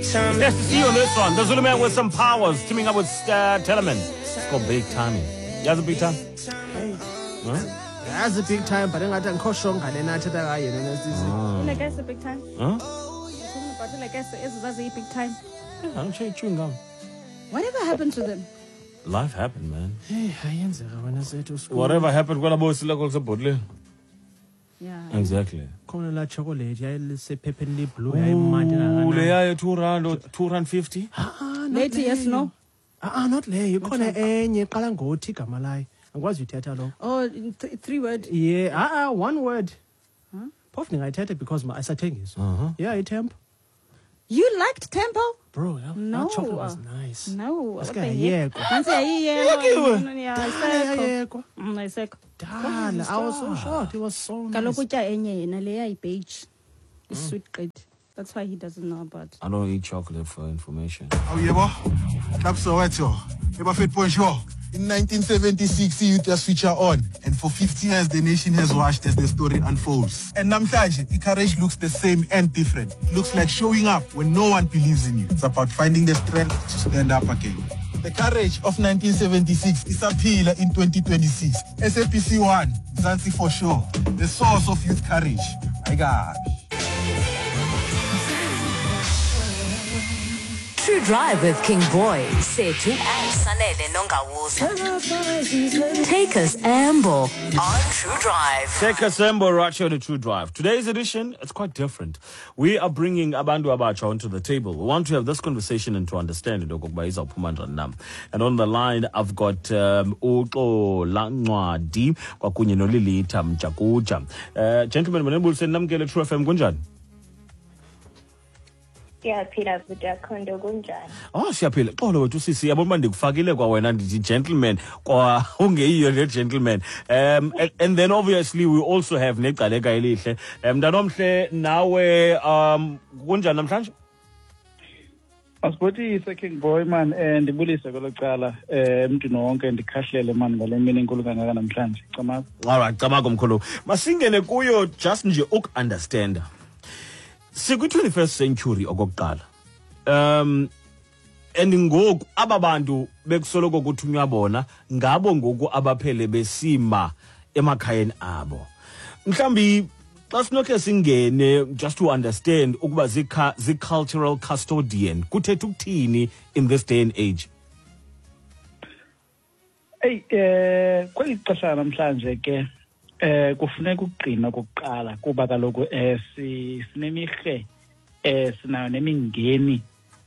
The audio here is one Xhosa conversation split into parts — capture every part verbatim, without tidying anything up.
It's nice to see you on this one. The Zulu Man with some powers, teaming up with uh, Telemann. It's called Big Timing. Yazi big time? Huh? That's a big time, but ingathi angikho sure ngale nathetha ngayo yena nesisi. Like it's a big time. Huh? Talking about it like it's it's a big time. Yeah, I don't chew chewing gum. Whatever happened to them? Life happened, man. Hey, ayenzeka wena sethu school. Whatever happened kwela bosi lakho lisebhodleni. Yeah. Exactly. Khona la chocolate yayisephepheni le-blue yayimandi Ooh, leya two rand or two rand fifty. Ah, not Lady, yes, leyo. no. Ah, ah, not leyo. Ikhona enye iqala ngothi igama layo. Angikwazi uyithetha lo. Oh, in th- three word. Yeah, ah, ah, one word. Phofu ndingayithetha because ma ayisathengiswa. Uh-huh. Yeah, iTempo. You liked Tempo? Bro, that, No. that chocolate was nice. No. What Asuke the heck? yayekwa. Nantsi yayiyekwa. Iyekiwe? Yeah, Dala ayisekho. yayekwa. Mm, ayisekho. Dala, I was so shocked. It was so nice. Kaloku utya enye yena leya yibeige. Isweet gqithi. That's why he doesn't know about. I don't eat chocolate for information. Awu yebo, Club Soweto, Ebafet Bonjour. In nineteen seventy-six, youth has feature on, and for fifty years, the nation has watched as the story unfolds. And namhlanje, courage looks the same and different. It looks like showing up when no one believes in you. It's about finding the strength to stand up again. The courage of nineteen seventy-six is appeal in twenty twenty-six. S A B C one, Mzansi for sure. The source of youth courage. I got. True Drive with King Boy, Sethu and Sanele Nongawuza. Take us amble on True Drive. Take us amble right here on the True Drive. Today's edition, it's quite different. We are bringing abantu abatsha onto the table. We want to have this conversation and to understand it. Okokuba izawuphuma njani na. And on the line, I've got um, uXola Ncwadi kwakunye noLilitha Mjakuja. Uh, gentlemen, manibulise namkele True F M kunjani? Siyaphila bhuti akho kunjani? Oh, siyaphila. Xolo wethu sisi, yabona uba ndikufakile kwa wena ndithi gentleman kwa ungeyiyo le gentleman. Um and, and then obviously we also have negcaleka elihle. Um mntanomhle nawe um kunjani namhlanje? Asibotise King Boy man, eh ndibulise kwelo cala eh emntwini wonke ndikhahlele man ngale mini enkulu kangaka namhlanje. Camago. All right, camago mkhulu. Masingene kuyo just nje uku-understand. Sikwi twenty-first century okokuqala. Um and ngoku aba bantu bekusoloko kuthunywa bona ngabo ngoku abaphele besima emakhayeni abo. Mhlambi xa sinokhe singene just to understand ukuba zi cultural custodian kuthetha ukuthini in this day and age. Hey eh kweli xesha namhlanje ke eh kufuneka ukugcina kokuqala kuba kaloku eh sinemirhe eh sinayo nemingeni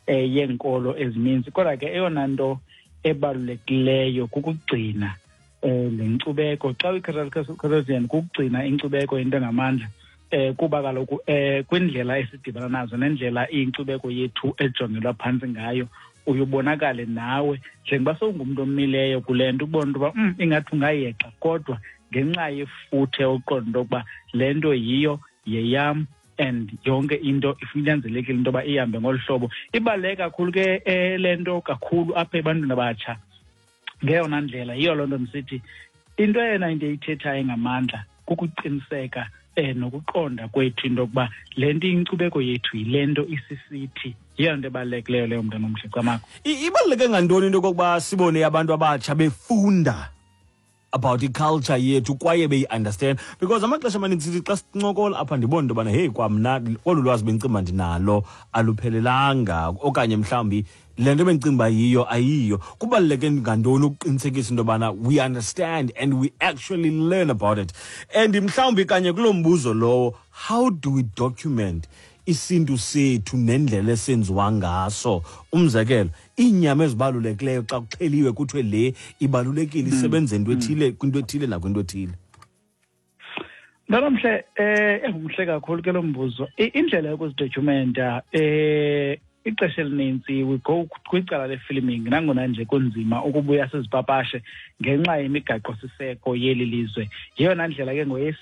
eh yenkolo ezininzi, kodwa ke eyona nto ebalulekileyo kukugcina eh lenkcubeko. Xa uyi-cultural custodian kukugcina inkcubeko into engamandla eh kuba kaloku eh kwindlela esidibana nazo nendlela inkcubeko yethu ejongelwa phantsi ngayo, uyubonakale nawe njengoba sowungumntu omileyo kule nto ubone into yoba mm, ingathi ungayeqa, kodwa ngenxa yefuthe uqonda ukuba le nto yiyo yeyam and yonke into ifunyanzelekile into yoba ihambe ngolu hlobo. Ibaluleke kakhulu ke le nto kakhulu apha ebantwini abatsha ngeyona ndlela. Yiyo loo nto ndisithi into eyona into eyithethayo ngamandla kukuqiniseka eh nokuqonda kwethu into yokuba le nto inkcubeko yethu yile nto isisithi. Yiyo nto ebalulekileyo leyo mntana omhle. Camago. Ibaluleke ngantoni into yokokuba sibone abantu abatsha befunda about i-culture yethu kwaye beyi-understand? Because amaxesha amaninzi sithi xa sincokola apha ndibona into yobana hey kwamna olu lwazi bendicimba ndinalo aluphelelanga, okanye mhlawumbi le nto bendicimba yiyo ayiyo. Kubaluleke ngantoni ukuqinisekisa into yobana we understand and we actually learn about it? And mhlawumbi kanye kuloo mbuzo lowo, how do we document isintu sethu nendlela esenziwa ngaso? Umzekelo, iinyama ezibalulekileyo xa kuxheliwe kuthiwe le ibalulekile isebenza into ethile kwinto ethile nakwinto ethile. Mntanomhle, eh engumhle kakhulu ke lo mbuzo. Indlela yokuzidokumenta eh ixesha elininzi we go kwicala le-filming, nangona nje kunzima ukubuya sizipapashe ngenxa yemigaqo siseko yeli lizwe. Yeyona ndlela ke ngoye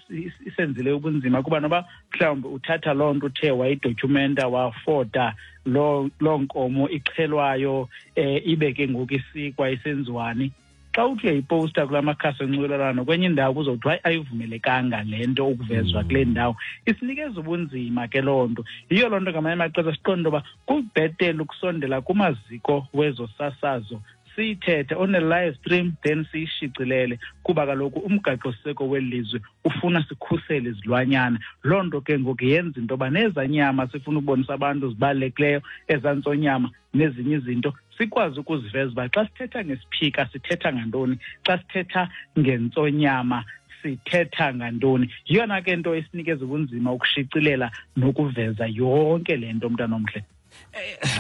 isenzile ubunzima kuba noba mhlawumbi uthatha loo nto uthe wayidokumenta wafota loo loo nkomo ixhelwayo eh ibe ke ngoku isikwa isenziwani. Xa uthi uyayiposta kula makhasi onxibelelwano kwenye indawo kuzothiwa hayi, ayivumelekanga le nto ukuvezwa kule ndawo. Isinikeza ubunzima ke loo nto. Yiyo loo nto ngamanye amaxesha siqonde uba kubhetele ukusondela kumaziko wezosasazo, siyithethe on a live stream, then siyishicilele, kuba kaloku umgaqosiseko weli lizwe ufuna sikhusele izilwanyana. Loo nto ke ngoku yenza into yoba nezaa nyama sifuna ukubonisa abantu zibalulekileyo, ezaa ntsonyama nezinye izinto, sikwazi ukuziveza uba xa sithetha ngesiphika sithetha ngantoni, xa sithetha ngentsonyama sithetha ngantoni. Yiyona ke nto esinikeza ubunzima ukushicilela nokuveza yonke le nto, mntanomhle.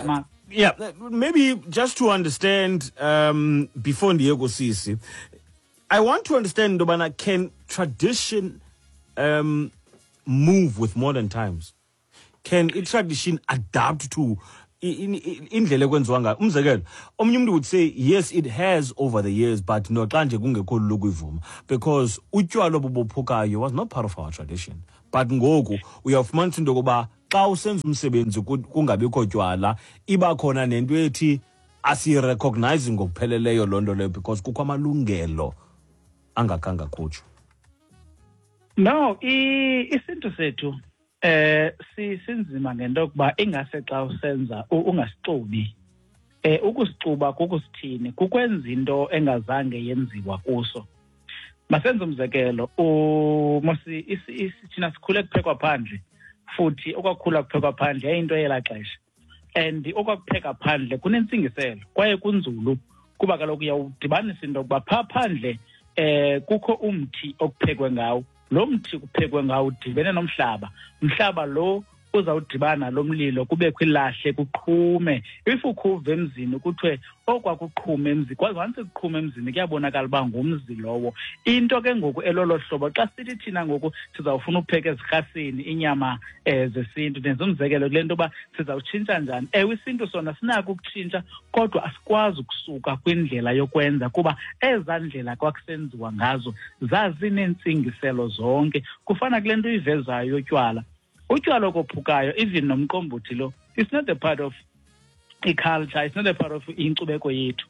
Ma- Yeah, maybe just to understand, um before ndiye kusisi, I want to understand Ndobana, can tradition um move with modern times? Can i-tradition adapt to i- i- indlela ekwenziwa ngayo? Umzekelo, omnye umntu would say yes, it has over the years, but noxa nje kungekho lula ukuyivuma, because utywala obubophukayo was not part of our tradition, but ngoku uyawufumanisa into yokuba xa usenza umsebenzi ku- kungabikho tywala, iba khona nento ethi asiyirecognize ngokupheleleyo loo nto leyo, because kukho amalungelo angakhange akhutshwe. No, i- isintu sethu eh si sinzima ngento yokuba ingase xa usenza u- ungasixubi. Eh ukusixuba kukusithini? Kukwenza into engazange yenziwa kuso. Masenze umzekelo, u mosi isi- isi- thina sikhule kuphekwa phandle, futhi okwakukhula kuphekwa phandle yayinto yelaa xesha. And okwakupheka phandle kunentsingiselo kwaye kunzulu, kuba kaloku uyawudibanisa into yokuba phaa phandle eh kukho umthi okuphekwe ngawo. Lo mthi kuphekwe ngawo udibene nomhlaba, umhlaba lo uzawudibana lo mlilo, kubekho ilahle, kuqhume. If ukhuva emzini kuthiwe okwakuqhuma emzini, kwaze once kuqhuma emzini kuyabonakala uba ngumzi lowo. Into ke ngoku elolo hlobo, xa sithi thina ngoku sizawufuna upheka ezirhasini inyama um zesintu, ndenza umzekelo kule nto yoba sizawutshintsha njani. Ewe, isintu sona sinako ukutshintsha, kodwa asikwazi ukusuka kwindlela yokwenza, kuba ezaa ndlela kwakusenziwa ngazo zazineentsingiselo zonke. Kufana kule nto uyivezayo yotywala. Utywala okophukayo, even nomqombothi lo, it's not a part of i-culture, it's not a part of inkcubeko yethu.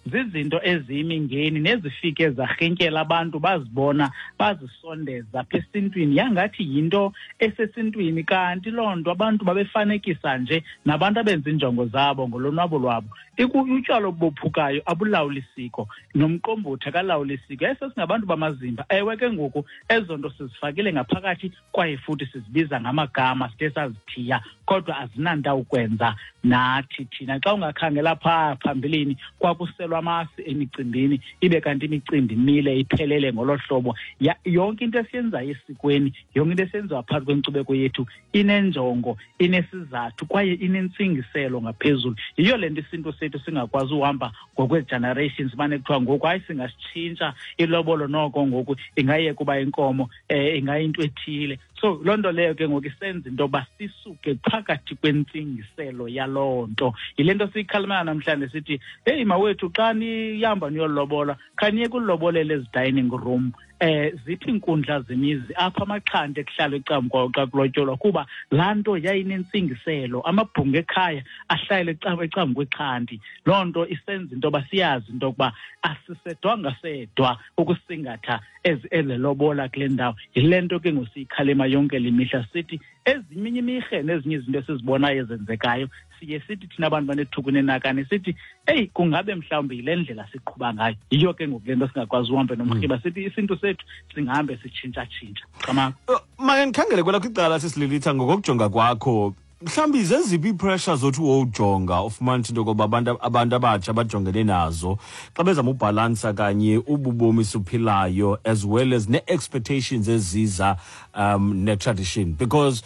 Zizinto eziyimingeni nezifike zarhintyela abantu, bazibona bazisondeza apha esintwini, yangathi yinto esesintwini, kanti loo nto abantu babefanekisa nje nabantu abenza iinjongo zabo ngolonwabo lwabo. Iku- utywala obophukayo abulawuli siko, nomqombothi akalawuli siko. Yaye sesingabantu bamazimba. Ewe ke ngoku ezo nto sizifakile ngaphakathi, kwaye futhi sizibiza ngamagama side sazithiya, kodwa azinanto ukwenza nathi thina. Xa ungakhangela phaa phambilini, kwakuselwa amasi emicimbini, ibe kanti imicimbi imile iphelele ngolo hlobo. Ya- yonke into esiyenzayo esikweni, yonke into esenziwa phakathi kwenkcubeko yethu inenjongo, inesizathu, kwaye inentsingiselo ngaphezulu. Yiyo le nto isintu sethu singakwazi uhamba ngokwee-generations, mane kuthiwa ngoku hayi singasitshintsha ilobolo, noko ngoku ingayeka uba inkomo, um ingayinto ethile. So loo nto leyo ke ngoku isenza into yoba sisuke phakathi kwentsingiselo yaloo nto. Yile nto siyikhalimela namhlanje sithi, heyi mawethu, xa nihamba niyolobola, khaniye kulobolela ezi dining room, eh ziphi iinkundla zemizi apho amaxhanti ekuhlalwa ecamkwawo xa kulotyolwa, kuba laa nto yayinentsingiselo. Amabhunga ekhaya ahlala ecam- ecam kwexhanti. Loo nto isenza into yoba siyazi into yokuba asisedwanga sedwa ukusingatha ezi elelobola kule ndawo. Yile nto ke ngosiyikhalima yonke le mihla, sithi ezinye imirhe nezinye izinto esizibonayo ezenzekayo, siye sithi thina abantu banethuku nenakane sithi eyi, kungabe mhlawumbi yile ndlela siqhuba ngayo. Yiyo ke ngoku le nto singakwazi uhambe nomrhiba, sithi isintu sethu singahambe sitshintshatshintsha. Qamaka. Uh, make ndikhangele kwelakho icala, sisililitha, ngokokujonga kwakho, mhlawumbi zeziphi ii-pressure zothi wowujonga ufumanisa into yokoba abantu abantu abatsha bajongene nazo xa bezama ubhalansa kanye ububomi siphilayo as well as nee-expectations eziza um ne-tradition? Because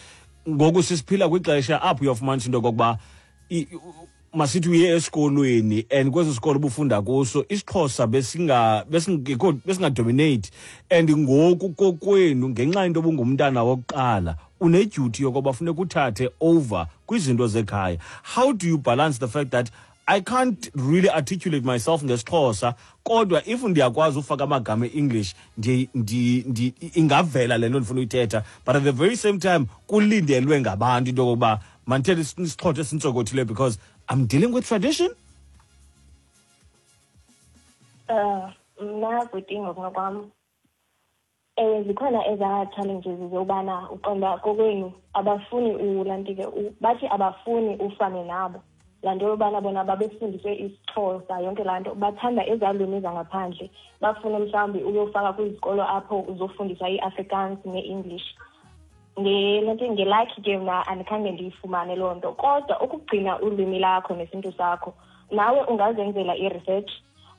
ngoku sisiphila kwixesha apho uyofumanisa into yokokuba i- u- masithi uye esikolweni, and kweso sikolo ubufunda kuso isiXhosa besinga besingekho, besingadominate, and ngoku kokwenu ngenxa yento obungumntana wokuqala uneduty yokoba funeka uthathe over kwizinto zekhaya. How do you balance the fact that I can't really articulate myself ngesiXhosa, kodwa if ndiyakwazi ufaka amagama e-English, ndi, ndi, ndi, ingavela le nto ndifuna uyithetha, but at the very same time kulindelwe ngabantu into yokokuba mandithethe isiXhosa esintsokothileyo because I'm dealing with tradition? Uh, Mna bhuti ngokunokwam, ewe zikhona ezaa challenges zobana uqonda kokwenu abafuni ulantike, bathi abafuni ufane nabo. Laa nto yobana bona babefundiswe isiXhosa yonke laa nto, bathanda ezaa lwimi zangaphandle, bafuna mhlawumbi uyofaka kwizikolo apho uzofundiswa iAfrikaans ne-English. Ngelaa ngelakhi ke mna andikhange ndiyifumane loo nto, kodwa ukugcina ulwimi lakho nesintu sakho nawe ungazenzela i-research,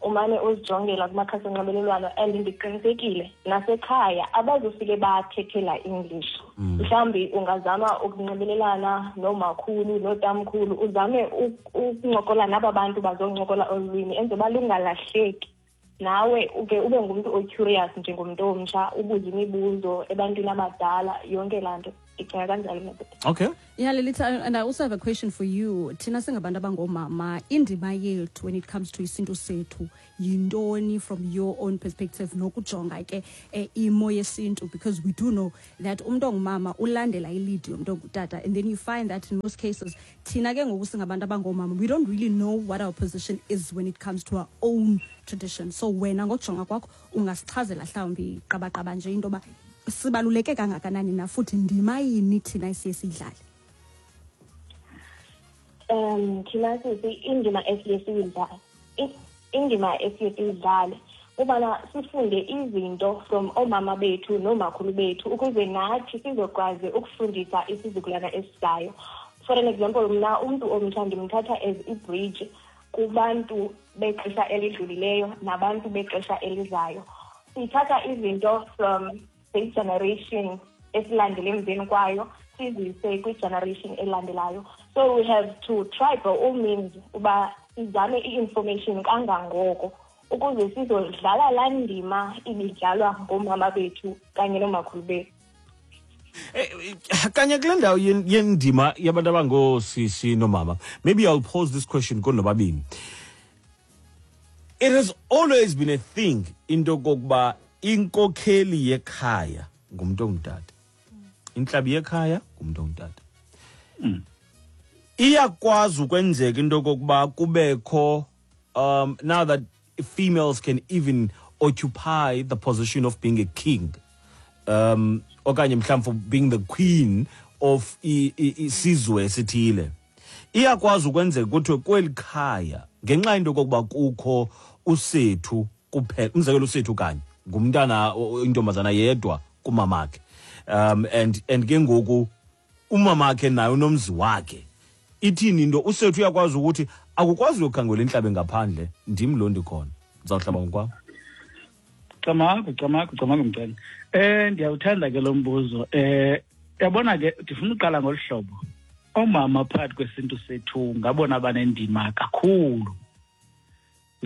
umane uzijongela kumakhasi onxibelelwano. And ndiqinisekile nasekhaya abazofike bathethela English. Mhlawumbi ungazama ukunxibelelana noomakhulu nootamkhulu, uzame ukuncokola naba bantu bazoncokola olu lwimi enze uba lungalahleki. Nawe uke ube ngumntu o-curious njengomntu omtsha, ubuze imibuzo ebantwini abadala, yonke laa nto. Ndicinga kanjalo mna. Okay. Yeah, Lilitha, and I also have a question for you. Thina singabantu abangoomama, indima yethu when it comes to isintu sethu yintoni from your own perspective nokujonga ke eh, imo yesintu, because we do know that umntu ongumama ulandela i-lead yomntu ongutata, and then you find that in most cases thina ke ngoku singabantu abangoomama, we don't really know what our position is when it comes to our own tradition. So wena ngokujonga kwakho ungasichazela mhlawumbi qabaqaba nje into yoba sibaluleke kangakanani na futhi ndima yini thina esiye siyidlale? Um thina sisi indima esiye siyidlale, indima esiye siyidlale ubana sifunde izinto from oomama bethu noomakhulu bethu ukuze nathi sizokwazi ukufundisa isizukulwana esizayo. For an example, mna umntu omtsha ndimthatha as i-bridge kubantu bexesha elidlulileyo nabantu bexesha elizayo. Sithatha izinto from the generation esilandele emveni kwayo sizise kwi-generation elandelayo. So we have to try by all means uba sizame i-information kangangoko ukuze sizodlala laa ndima ibidlalwa ngoomama bethu kanye noomakhulu bethu. Kanye kule ndawo yendima yabantu abangoosisi noomama, maybe I'll pose this question konobabini. It has always been a thing into yokokuba inkokheli yekhaya ngumntu ongutata, intlabi yekhaya ngumntu ongutata. Iyakwazi ukwenzeka into yokokuba kubekho, um now that females can even occupy the position of being a king, um okanye mhlawumbi for being the queen of isizwe esithile, iyakwazi ukwenzeka kuthiwe kweli khaya ngenxa yento yokokuba kukho usethu kuphela, umzekelo usethu kanye ngumntana intombazana yedwa kumamakhe, um and and ke ngoku umamakhe naye unomzi wakhe. Ithini into usethu uyakwazi ukuthi akukwazi uyokhangela intlabe ngaphandle, ndim lo ndikhona ndizawuhlaba ngokwam? Camagu, camagu, camagu mcane. Eh ndiyawuthanda ke lo mbuzo. Eh yabona ke ndifuna uqala ngolu hlobo. Oomama phakathi kwesintu sethu ngabona banendima kakhulu.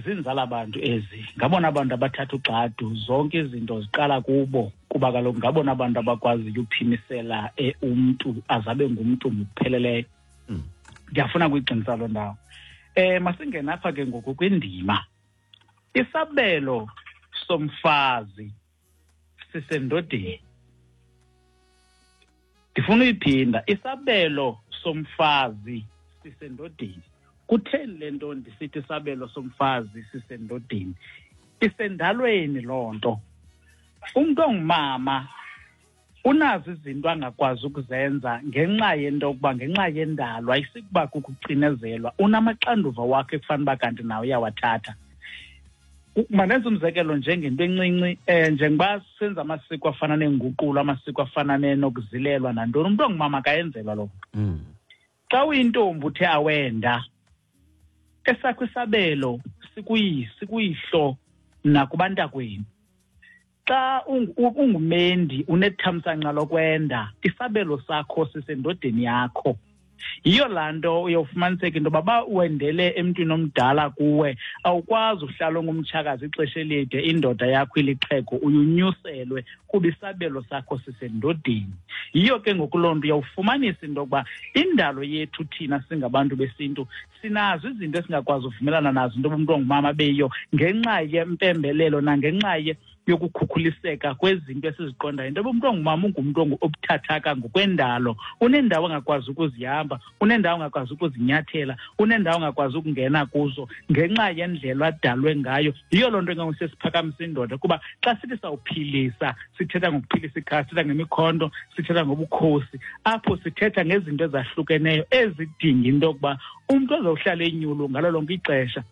Zinzala abantu ezi, ngabona abantu abathatha ugxadu, zonke izinto ziqala kubo, kuba kaloku ngabona abantu abakwaziyo uphimisela umntu azabe ngumntu ngokupheleleyo. Ndiyafuna kuyiqinisa loo ndawo. Eh masingena apha ke ngoku kwindima. Isabelo somfazi sisendodeni. Ndifuna uyiphinda, isabelo somfazi sisendodeni. Kutheni le nto ndisithi isabelo somfazi sisendodeni? Isendalweni loo nto. Umntu ongumama unazo izinto angakwazi ukuzenza ngenxa yento yokuba ngenxa yendalo, ayisikuba kukucinezelwa, unamaxanduva wakhe ekufanele uba kanti nawe uyawathatha. Mandenze umzekelo njengento encinci, um njengoba senza amasiko afana neenguqulo, amasiko afana nokuzilelwa nantoni, umntu ongumama akayenzelwa loo nto. Xa uyintombi uthe awenda, esakho isabelo sikuyihlo nakubantakwenu. Xa ungumendi unethamsanqa lokwenda, isabelo sakho sisendodeni yakho. Yiyo laa nto uyawufumaniseka into yoba ba wendele emntwini omdala kuwe, awukwazi uhlala ungumtshakazi ixesha elide, indoda yakho ilixhego, uyunyuselwe kuba isabelo sakho sisendodeni. Yiyo ke ngoku loo nto uyawufumanisa into yokuba indalo yethu thina singabantu besintu sinazo izinto esingakwazi uvumelana nazo into yoba umntu ongumama abe yiyo ngenxa yempembelelo nangenxa yokukhukhuliseka kwezinto esiziqondayo. Into yoba umntu ongumama ungumntu obuthathaka ngokwendalo, unendawo angakwazi ukuzihamba, unendawo angakwazi ukuzinyathela, unendawo angakwazi ukungena kuzo ngenxa yendlela adalwe ngayo. Yiyo loo nto ke ngoku sesiphakamisa indoda, kuba xa sithi sawuphilisa, sithetha ngokuphilisa ikhaya, sithetha ngemikhonto, sithetha ngobukhosi, apho sithetha ngezinto ezahlukeneyo ezidinga into yokuba umntu azawuhlala enyulu ngalo lonke ixesha.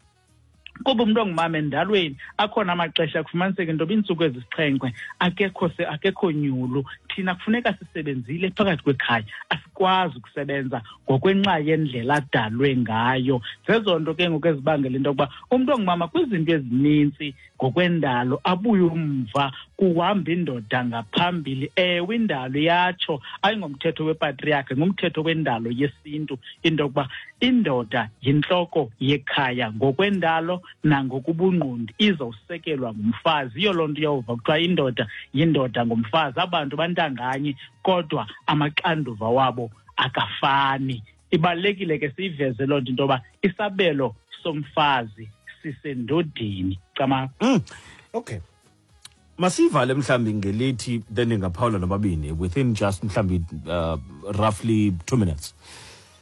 Kuba umntu ongumama endalweni akhona amaxesha kufumaniseka into yoba iintsuku ezisixhenxe akekho akekho nyulu. Thina kufuneka sisebenzile phakathi kwekhaya, asikwazi ukusebenza ngokwenxa yendlela adalwe ngayo. Zezo nto ke ngoku ezibangela into yokuba umntu ongumama kwizinto ezinintsi ngokwendalo abuye umva, kuhamba indoda ngaphambili. Ewe, indalo iyatsho, ayingomthetho wepatriarchy, ngumthetho wendalo yesintu into yokuba indoda yintloko yekhaya ngokwendalo nangokubungqondi, izawusekelwa ngumfazi. Yiyo loo nto uyawuva kuthiwa indoda yindoda ngumfazi. Abantu bantanganye kodwa amaxanduva wabo akafani. Ibalulekile ke siyiveze loo nto, into yoba isabelo somfazi sisendodeni. Cama. Mm. Okay. Masivale mhlambi ngelithi, then ningaphawula nobabini within just mhlambi uh, roughly two minutes.